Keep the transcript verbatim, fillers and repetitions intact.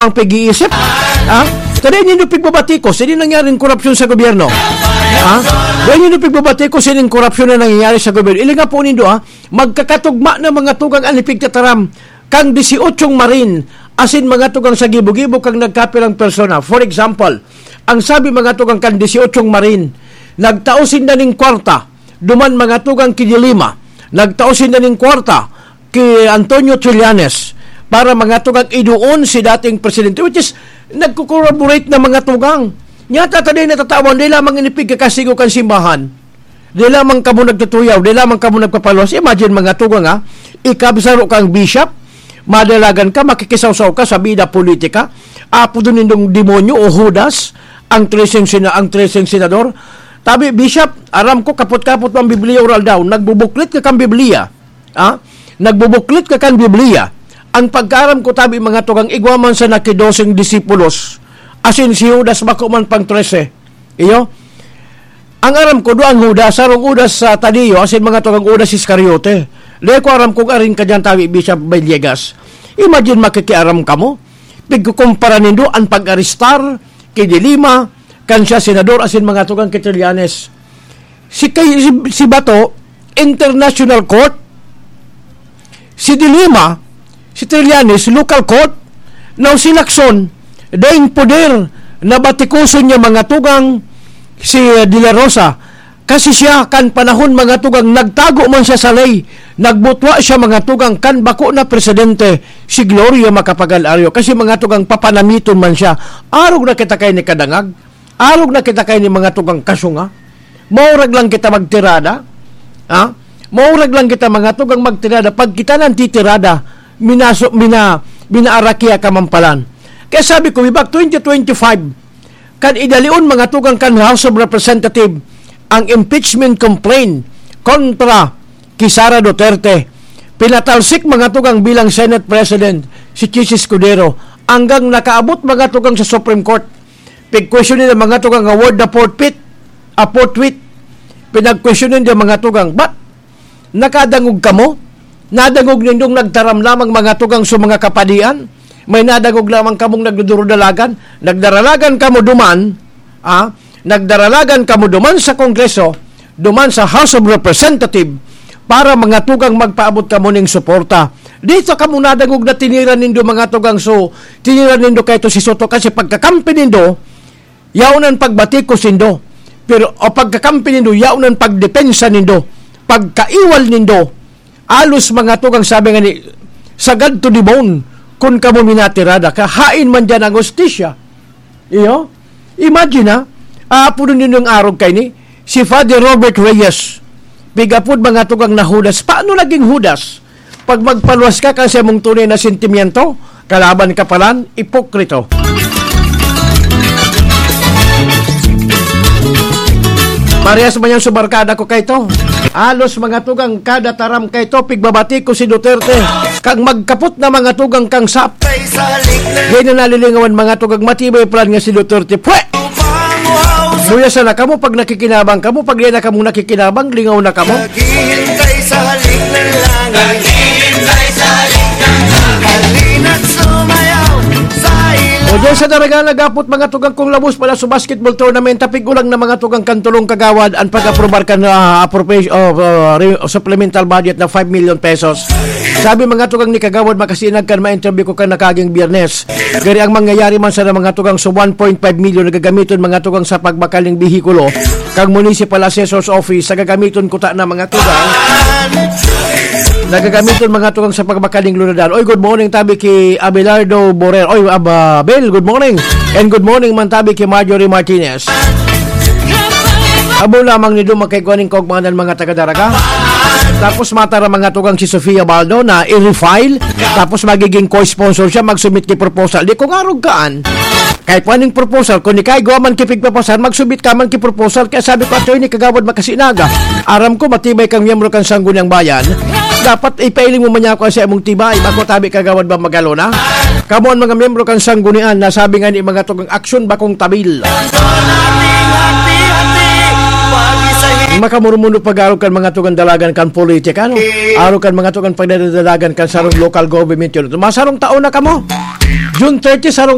ang pag-iisip. Ha? Kada nindo pigbabatikos, hindi nangyaring korupsyon sa gobyerno. Ha? Kada nindo pigbabatikos, hindi korupsyon na nangyayari sa gobyerno. Ilinga po nindo, ha? Magkakatugma na mga tugang an ipigtataram kang disiotsyong marin, asin mga tugang sa gibo-gibo kang nagkapirang persona. For example, ang sabi mga tugang kan disiotsyong marin, nagtao sinda ning kwarta, duman mga tugang ki De Lima, nagtao sinda ning kwarta, ki Antonio Trillanes para mga tugang iduon si dating presidente, which is nagko-corroborate na mga tugang. Nya ta taday natatawan, di lamang inipigkakasigo kan simbahan. Di lamang kamo nagtutuyaw, di lamang kamo nagpapaluwas. Imagine mga tugang ha, ikabsaro kang bishop, madalagan ka, makikisawsaw ka sa bida politika, apo doon nindong demonyo o Judas, ang treseng sina-, ang treseng senador. Tabi, Bishop, aram ko kapot-kapot ang Biblia oral daw, nagbubuklit ka kang Biblia. Ha? Nagbubuklit ka kan Biblia. Ang pagkaaram ko tabi mga tugang igwa man sa nakidoseng disipulos, asin si Judas bako man pang trese. Iyo? Ang aram ko, duang Judas, sarong Judas sa Tadeo, asin mga tugang Judas Iscariote. Di ko aram kung arin ka dyan tabi, Bishop Villegas. Imagine makikiaram kamo. Pigkukumpara nindo ang pag-arestar, ki De Lima, kan siya senador, asin mga tugang ki Trillanes. Si, kay, si, si Bato, international court. Si De Lima, si Trillanes, local court. Now, si Lacson, daing poder na batikoson niya mga tugang si, eh, De La Rosa. Kasi siya, kan panahon mga tugang, nagtago man siya sa lay. Nagbutwa siya mga tugang, kan bako na presidente, si Gloria Macapagal-Arroyo. Kasi mga tugang, papanamiton man siya. Arog na kita kay ni kadangag. Arog na kita kay ni mga tugang kasunga. Maurag lang kita magtirada. Ha? Maurag lang kita mga tugang magtirada. Pag kita nang titirada, minaso-, mina-, minaarakia ka man palan. Kaya sabi ko, way back twenty twenty-five, kan idalion mga tugang kan House of Representative ang impeachment complaint kontra ki Sara Duterte. Pinatalsik mga tugang bilang Senate President si Chiz Escudero, hanggang nakaabot mga tugang sa Supreme Court. Pigkwestiyon ninda mga tugang nga word na forfeit, a forfeit. Pinagkwestiyon ninda mga tugang, ba't nakadangog kamo? Nadangog nindong nagtaram lamang mga tugang sa mga kapadian? May nadangog lamang kamong nagdudurudalagan? Nagdaralagan kamo duman, ah? Nagdaralagan kamo duman sa Kongreso, duman sa House of Representative, para mga tugang magpaabot kamo ning suporta. Dito kamo nadangog na tiniran nindo mga tugang, so, tiniran nindo kay to si Soto kasi pagkakampi nindo, yaon an pagbatikos nindo. Pero, o pagkakampi nindo, yaon an pagdepensa nindo, pagkaiwal nindo. Alos mga tugang sabi nga ni, sagad to the bone, kun kamo minatirada, kahain man diyan ang hustisya. Iyo? Imagine ha, aapodon nindo ang arog kay ni, si Father Robert Reyes. Pigapod mga tugang na Judas. Paano naging Judas? Pag magpaluwas ka kasi mong tunay na sentimiento, kalaban ka palan, ipokrito. Parehas man yan sa barkada ko kay to. Alos mga tugang kada taram kay to, pigbabati ko si Duterte. Kag magkapot na mga tugang kang sap. Di na nalilingawan mga tugang matibay plan nga si Duterte. Pwe! Muya sana kamo pag nakikinabang kamo, pag di na kamo nakikinabang, lingaw na kamo. Naghihintay sa halik ng langit. Naghihintay sa halik ng langit. Halina't sumayaw sa ilaw. O diyan sa Daraga, nagapot mga tugang kong labos pala sa basketball tournament, tapig ulang na mga tugang kan tulong kagawad, ang pag-aprobar kan, ah, appropriation of, ah, re-, supplemental budget na five million pesos. Sabi mga tugang ni Kagawad Makasinag kan ma-interview ko kan nakaging Biyernes. Gari ang mangyayari man sa mga tugang sa one point five million na gagamiton mga tugang sa pagbakal ning behikulo kang Municipal Assessor's Office sa gagamiton kuta na mga tugang. Nagagamiton mga tugang sa pagbakal ning lunadan. Oy, good morning tabi ki Abelardo Borer. Oy, Abel, good morning. And good morning man tabi ki Marjorie Martinez. Abo lamang ni Duma kay kuaning kaugmanan mga taga-Daraga. Tapos matara mga tugang si Sofia Baldo na i-refile. Tapos magiging co-sponsor siya, mag-submit ki proposal. Di ko nga arugaan. Kahit kuaning proposal, kung ikay gawa man ki pigpapasar, mag-submit ka man ki proposal. Kaya sabi ko, Attorney Kagawad Makasinaga, aram ko matibay kang miyembro kan Sangguniang Bayan. Dapat ipailing mo man niya ako sa imong tibay. Bako tabi Kagawad ba magalo na? Kamo ang mga miyembro kan Sanggunian na sabi nga ni mga tugang aksyon bakong tabil. Makamurumundo pag-arog kan mga tugang dalagan kan politika, no? Arog kan mga tugang pagdadalagan kan sarong local government yun. Masarong taon na kamo. June thirty, sarong